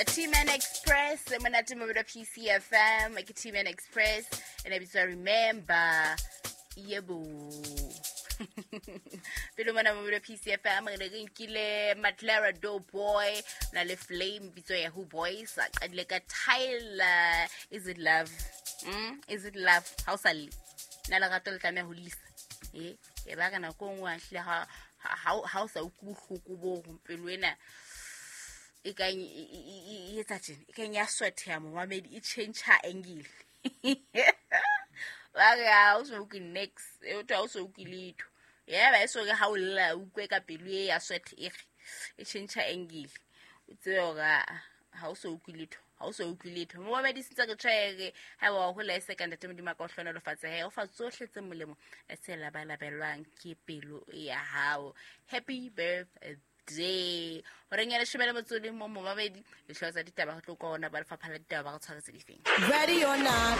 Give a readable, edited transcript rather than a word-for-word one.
T-Man Express monate mobilo PCFM ke T-Man Express ene bitswa Remember. Yebo, pele mona mobilo PCFM re ne re nkile Matlara Do Boy na le Flame bitso ya Who Boys a qadile ka Tyler Is It Love. Is it love ha o sa lle? Na lerato le tlameha ho lisa? E ba ka nako e nngwe a hlile ha o sa utlwe bohloko bo pelo ena e kang e etsa tjena, e kang ya swetheha, momamedi, e change angle. Ba re ha o so utlwe next e o ha o so utlwe letho. Ya ba e so re ha o lla, o utlwe ka pelo e ya sweat, e re e change angle, o tsebe hore ha o so utlwe letho, ha o so utlwe letho. Momamedi, sentse re tshwaere ha wa hola e se ka ntate Modimo a ka o hlohonolofatse he o fa tsohle tse molemo tse labalabelwang ke pelo ya hao. Happy birthday. Horeng ya 13, momamedi, dihlooho tsa ditaba re tlo kwa ona ba lefapha la ditaba ba re tshwaretse difeng. Ready or not.